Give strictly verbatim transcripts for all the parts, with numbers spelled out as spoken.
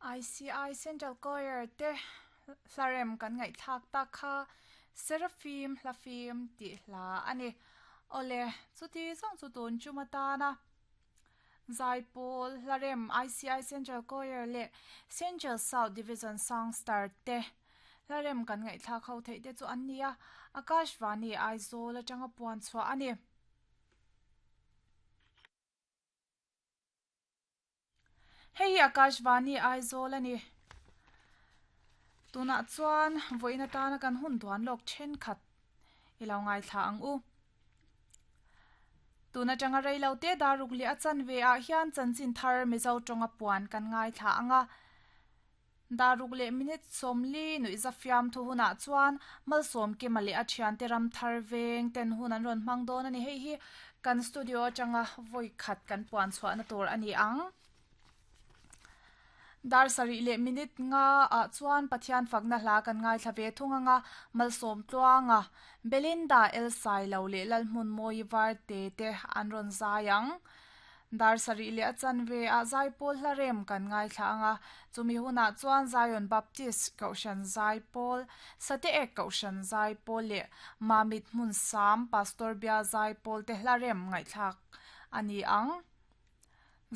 I C I Central Choir te hlarem kan ngaihthlak tak kha Seraphim hlafim tih hla ani. Ole, chuti zawng chu tun chuma tana Zaipawl hlarem I C I Central Choir leh Central South Division Songstar te hlarem kan ngaihthlak ho theih te chu an nia. Akashvani Aizawl atanga puan chhuah ani. Hei Akashvani Aizawl ani. Tunah chuan vawiin atana kan hun duan lawk thenkhat i lo ngaithla ang u. Tun atanga reilo te daruk leh a chanve ah hian chanchin thar Mizo tawnga puan kan ngaithla anga. Daruk leh minute sawmli nuih zafiam thu hunah chuan malsawm kema leh a thiante ram thar veng ten hun an rawn hmang dawn ani. Hei hi kan studio atanga vawi khat kan puan chhuahna tur ani ang. Dar sarih leh minute nga ah chuan Pathian fakna hla kan ngaithla ve thung anga malsawm tluanga Belinda El Sailo leh Lalhmun Mawi var te te an rawn zai ang. Dar sarih leh a chanve ah Zaipawl hlarem kan ngaithla anga chumi hunah chuan Zion Baptist Kohhran Zaipawl, Sate Ek Kohhran Zaipawl leh Mamit Hmun Sam Pastor Bia Zaipawl te hlarem ngaihthlak ani ang.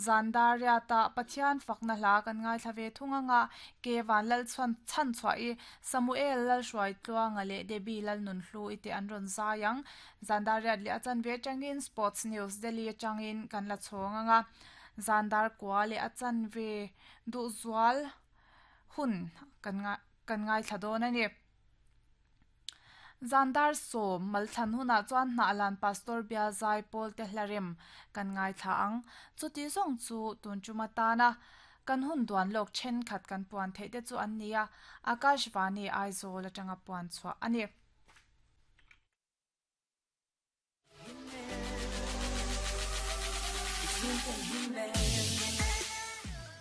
Zan dar riatah Pathian fakna hla kan ngaithla ve thung anga ke van lal chuan chan chhuah i Samuel lal hruai tluanga leh Debbie lal nun hlu ite an rawn zai ang. Zan dar riat leh a chanve atangin Sports News Delhi atangin kan la chhawng anga zan dar kua leh a chanve duh zual hun kan nga kan ngaithla dawn ani. Zan dar sawm malthlan hunah chuan hnah lan Pastor Bia Zaipawl te hlarem kan ngaithla ang. Chuti zawng chu tun chuma tana kan hun duan lawk thenkhat kan puan theih te chu an nia. Akashvani Aizawl atanga puan chhuah ani.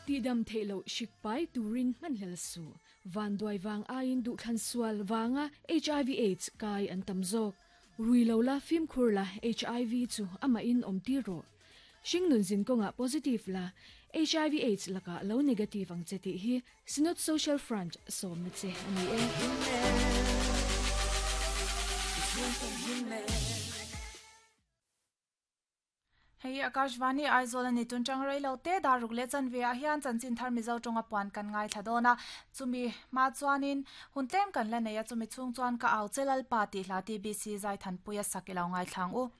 Ti dam theilo shikpai turin hmanhlel su van duai wang aiin du thlan sual wanga H I V AIDS kai an tam zawk. Rui lo la, fim khur la, H I V chu ama in om ti ro hringnun zin konga positive la, H I V AIDS laka lo negative ang cheti hi Synod Social Front som na che ani e. Hei Akashvani Aizawl ani. Tun tang reilo te daruk le chanve ah hian chanchin thar Mizo tawnga puan kan ngaithla dawna. Chumi ma chuanin hun tlem kan la nei a, chumi chhung chuan ka au chelal pa tih hla T B C zai than puia sak ilo ngaithlang u.